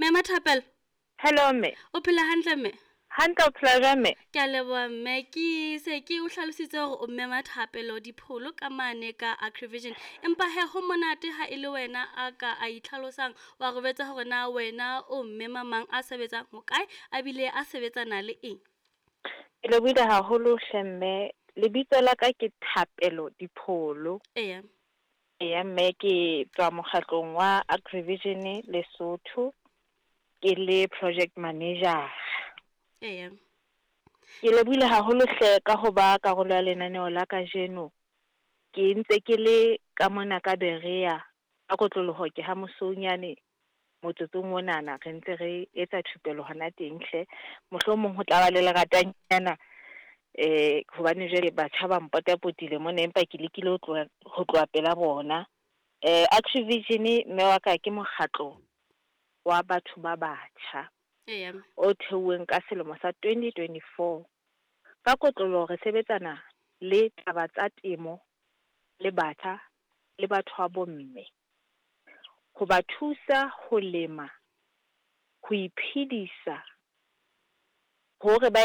Mme Mathapelo. Hello mme. O phela hantle mme? Hantle, o phela jwang mme? Ke a leboha mme. Ke se ke o hlalositse hore o mme Mathapelo Dipholo ka mane ka Agrivision. Empa he ho monate ha e le wena a ka a itlhalosang wa re jwetsa hore na wena o mme mamang a sebetsang hokae a bile a sebetsana le eng. Ke lebohile haholo hle mme. Lebitso la ka ke Thapelo Dipholo. Eya. Eya mme, ke tswa mokgatlong wa Agrivision Lesotho, ke le project manager. Eya. Ke lebohile haholo hle ka ho ba karolo ya lenaneo la kajeno. Ke ntse ke le ka mona ka Berea, ka kotloloho ke ha Mosounyane motsotsong onana re ntse re etsa thupelo hona teng hle. Mohlomong ho tla ba le leratanyana hobane jwale batjha ba mpotapotile mona, empa ke lekile ho tloha pela bona. Agrivision mme wa ka ke mokgatlo wa batho ba batjha. Eya. O theuweng ka selemo sa 2024. Ka kotloloho re sebetsana le taba tsa temo le batjha le batho ba bomme. Ho ba thusa ho lema, ho iphedisa, hore ba